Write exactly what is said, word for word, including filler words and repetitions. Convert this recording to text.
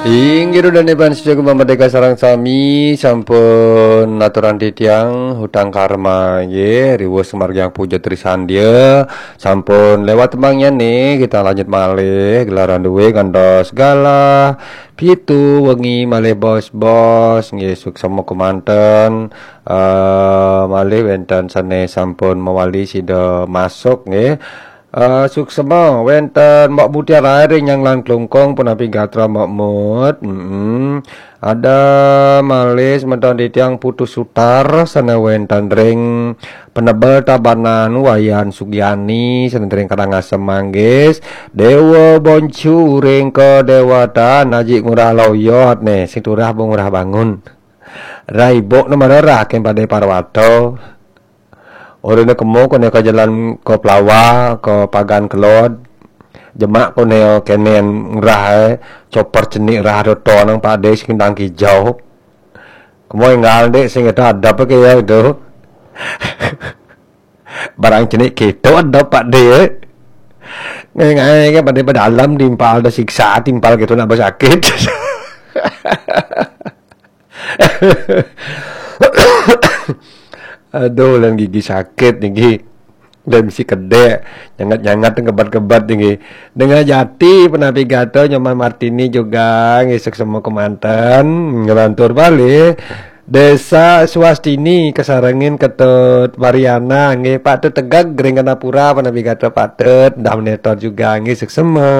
Inggih, Ida dané panjenengan Merdeka sareng sami sampun aturan titiang hutang karma nggih, riwus sumargiang puja trisandia, sampun lewat temangnyané, kita lanjut malih gelaran duwé ngantos galah pitu wengi malih bos-bos nggih, suksema kemanten. Eh, malih wénten sané sampun mawali sida masuk nggih. Eh, suksema wénten Mbok Mutiara ring Nyanglan Klungkung punapi gatra Mbok Mut. Mm-mm. Ada malih semeton titiang Putu Sutar sané wénten ring Penebel Tabanan, Wayan Sugiani sané ring Karangasem Manggis, Déwa Boncu ring Kedéwatan Aji Ngurah Loyot né, sing turah Bu Ngurah Bangun. Raibuk né marerah kén Padé Parwata. Orina kemo koné ka jalan ka Plawa, ka Pagan Kelod. Jemak koné kéné ngerah, eh, copor cenik rah ada tonang Pak Dé sing ndang kijau. Kemo énggal Dék sing itu adep ké ya itu. Barang cenik kéto adep Pak Dé, eh. Ngai-ngai ké Pak Dé pada alam timpal ada siksa, timpal kéto nak sakit. Aduh, lan gigi sakit niki. Dan si kedék nyangat-nyangat ngebat-ngebat niki. Dengan jati penapi gato Nyoman Martini juga ngisuk semua kemanten ngelantur balik. Desa Swastini kesarengin Ketut Mariana nggih, patut tegeg ring Kenapura penapi gato patut dah menetor juga nggih, suksema.